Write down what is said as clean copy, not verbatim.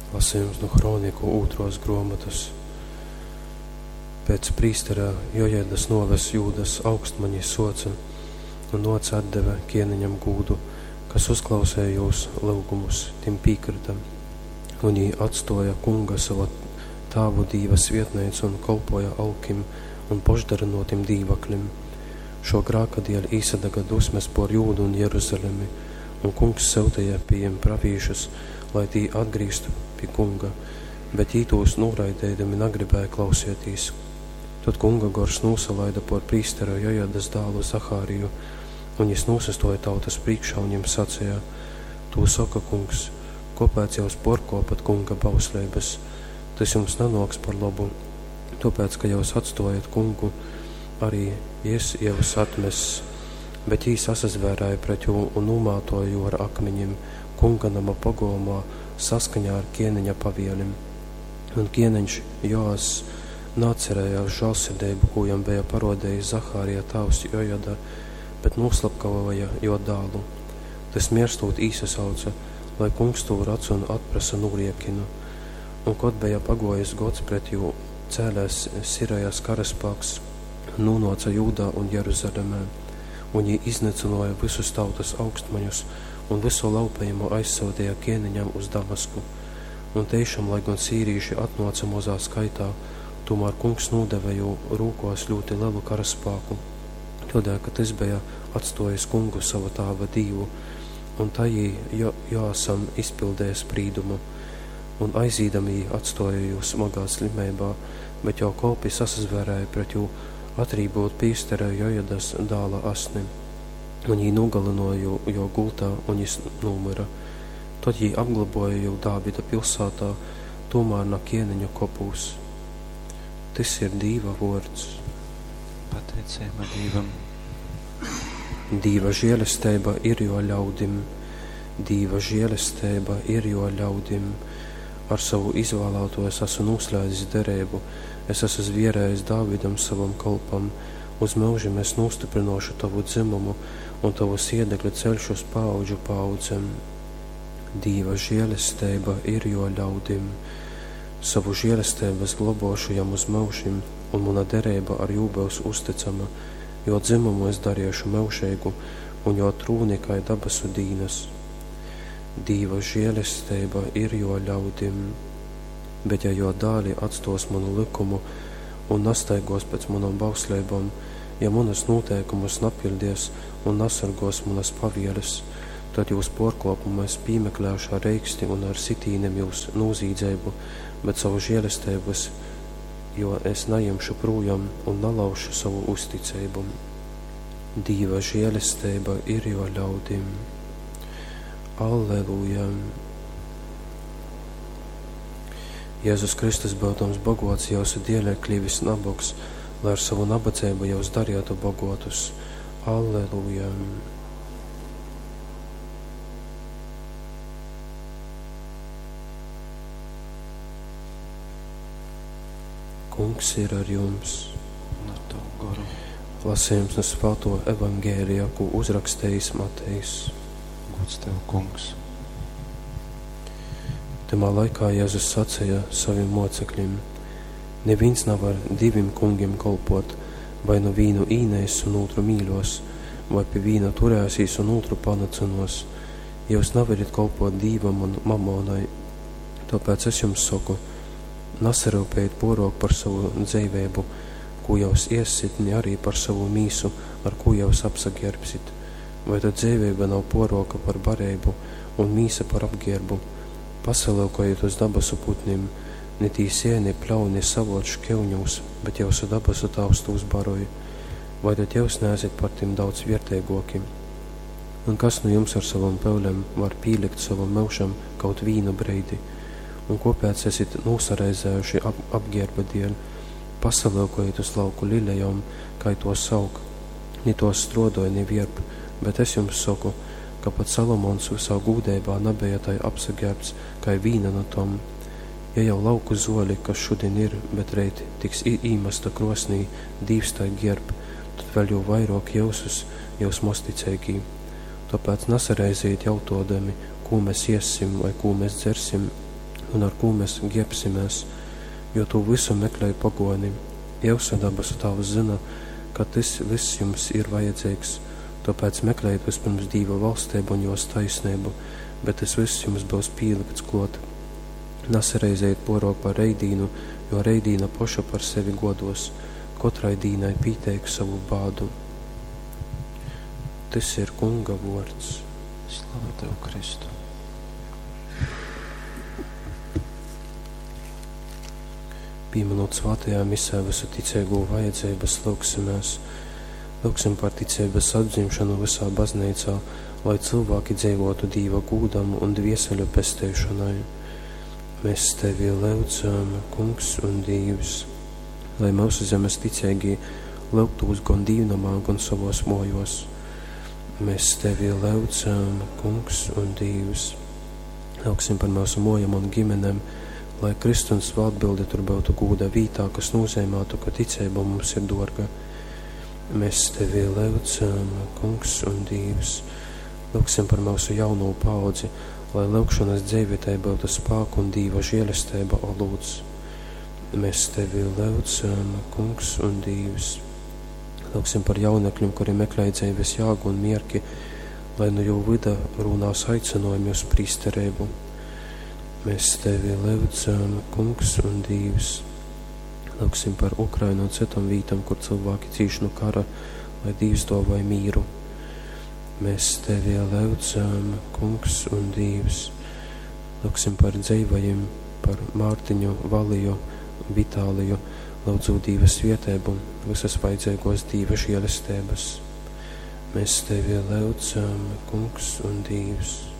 Lasejums nu Hroniku ūtrōs grōmotas. Pēc prīstera Jojadas nōves Jūdas augstmaņi sōce un nōce atdeve kēneņam gūdu, kas uzklauseja jūs lyugumus, tim pīkryta. Un jī atstōja Kunga, sova tāvu Dīva svietneicu un kolpōja alkim un pošdarynōtim dīvaklim. Šō grāka dēļ īsadaga dusmes pōr Jūdu un Jeruzalemi, un Kungs syuteja pi jim pravīšus, lai tī atgrīztu pi Kunga, bet jī tūs nūraideidami nagribēja klausietīs. Tod Kunga gors nūsalaida pōr prīstera Jojadas dālu Zahariju, un jys nūsastōja tautas prīškā un jim saceja, Tū soka Kungs, kōpēc jyus pōrkōpat Kunga bausleibas? Tys jums nanōks par lobu, tōpēc, ka jyus atstōjat Kungu, arī jys jyus atmess. Bet jī sasazvērēja pret jū un nūmātōja jū ar akmiņim Kunga noma pogolmā saskaņā ar kieneņa pavielim. Un kieneņš Joass naatcerējās žālsirdeibu, kū jam beja parodējis Zahārija tāvs Jojada, bet nūslapkavoja jō dālu. Tys mierstūt īsasauce, lai Kungs tū radz un atprasa nūriekinu. Un kod beja pagōjis gods, pret jū cēlēs Sirejas karaspāks un nūnōce Jūdā un Jeruzalemē. Un jī iznycynōja vysus tautas augstmaņus un vysu laupejumu aizsyuteja kieneņam uz Damasku. Un teišam, lai gon sīrīši atnōce mozā skaitā, tūmār Kungs nūdeve jū rūkōs ļūti lelu karaspāku, tōdēļ, ka tys beja atstōjis Kungu, sova tāva Dīvu, un tai jī jo Joasam izpildeja sprīdumu. Un aizīdami jī atstōja jū smagā slimeibā, bet jō kolpi sasazvērēja pret jū, atrībūt prīstera Jojadas dāla asni. Un jī nūgalynōja jū jō gultā, un jys nūmyra. Tod jī apglobōja jū Dāvida pilsātā, tūmār na kieneņu kopūs. Tys ir Dīva vōrds. Pateiceiba Dīvam. Dīva žielesteiba ir jō ļaudim. Dīva žielesteiba ir jō ļaudim. Ar sovu izvālātū es asu nūslēdzis dereibu, es asu zvierējis Dāvidam sovam kolpam, uz myužim es nūstyprynōšu tovu dzymumu un tovu siedekli ceļšu uz paaudžu paaudzem. Dīva žielesteiba ir jō ļaudim. Sovu žielesteibu es globōšu jam uz myužim, un muna dereiba ar jū byus uztycama, jō dzymumu es dariešu myužeigu un jō trūni kai dabasu dīnas. Dīva žielesteiba ir jō ļaudim. Bet ja jō dāli atstōs munu lykumu un nastaigōs pēc munom bausleibom, ja munus nūteikumus napiļdies un nasorgōs munas pavieles, tad jūs pōrkōpumu es pīmeklēšu ar reiksti un ar sitīnim jūs nūzīdzeibu, bet sovu žielesteibu es, jo es najimšu prūjom un nalauzšu sovu uzticeibu. Dīva žielesteiba ir jō ļaudim. Alleluja! Jēzus Kristus, byudams bogots, jyusu dieļ ir klivis nabogs, lai ar sovu nabadzeibu jyus darietu bogotus. Alleluja! Kungs ir ar jums. Un ar tavu goru. Lasījums nu Svāto Evangēlija, kū uzrakstējis Matejs. Gods tev, Kungs. Tymā laikā Jēzus saceja savim mocekļim: Nivīns navar divim kungim kolpot, vai nu vīnu īneiss un ūtru mīļos, vai pi vīna turēsīs un ūtru panycynuos. Jyus navarit kolpot Dīvam un mamonai. Tōpēc es jums soku, nasaryupejit pōrōk par sovu dzeiveibu, kū jyus ēssit, ni arī par sovu mīsu, ar kū jyus apsagierbsit. Vai tad dzeiveiba nav pōrōka par bareibu un mīsa par apgierbu? Pasalyukojit uz dabasu putnim, ni tī siej, ni pļauj, ni savōc škyuņūs, bet jyusu dabasu Tāvs tūs baroj. Vai tad jyus neesit par tim daudz vierteigōki? Un kas nu jums ar sovom pyulem var pīlikt sovam myužam kaut vīnu breidi? Un kōpēc esit nūsaraizējuši ap apgierba dieļ? Pasalyukojit uz lauku lilejom, kai tōs aug. Ni tōs strōdoj, ni vierp, bet es jums soku, ka pat Salomons vysā gūdeibā nabeja tai apsagērbts, kai vīna nu tom. Ja jau lauku zuoli, kas šudin ir, bet reit tiks īmasta kruosnī, Dīvs tai gierb, tad vēļ jū vairuok jyusus, jyus mozticeigī. Tōpēc nasareizejit jautōdami, kū mes iessim vai kū mes dzersim, un ar kū mes gierbsimēs, jo tū vysu meklej pogōni. Jyusu dabasu Tāvs zyna, ka tys vyss jums ir vajadzeigs, tōpēc meklejit vyspyrms Dīva valsteibu un jōs taisneibu, bet tys vyss jums byus pīlykts klōt. Nasareizejit pōrōk par reitdīnu, jo reitdīna poša par sevi gōdōs. Kotrai dīnai pīteik sovu bādu. Tys ir Kunga vōrds. Slava Tev, Kristu! Pīminūt svātajā misē vysu ticeigū vajadzeibas, lyugsimēs. Lyugsim par ticeibas atdzimšonu vysā bazneicā, lai cylvāki dzeivōtu Dīva gūdam un dvieseļu pesteišonai. Mēs Tevi lyudzam, Kungs un Dīvs, lai myusu zemes ticeigī lyugtūs gon dīvnomā, gon sovōs mōjōs. Mēs Tevi lyudzam, Kungs un Dīvs. Lyugsim par myusu mōjom un gimenem, lai krysts un svātbilde tur byutu gūda vītā, kas nozeimātu, ka ticeiba mums ir dōrga. Mēs Tevi lyudzam, Kungs un Dīvs. Lyugsim par myusu jaunū paudzi, lai lyugšonas dzeive tai byutu spāku un Dīva žēlesteiba olūts. Mēs Tevi lyudzam, Kungs un Dīvs. Lyugsim par jaunekļiem, kuri meklē dzeives jāgu un mierki, lai nu jū vyda rūnās aicinojumi uz prīstereibu. Mēs Tevi lyudzam, Kungs un Dīvs. Lyugsim par Ukrainu un citom vītom, kur cilvēki cīš no kara, lai Dīvs dōvoj mīru. Mēs Tevi lyudzam, Kungs un Dīvs. Lyugsim par dzeivajiem, par Mārtiņu, Valiju, Vitāliju, lyudzūt Dīva svieteibu, visas vajadzīgos Dīva žēlestības. Mēs Tevi lyudzam, Kungs un Dīvs.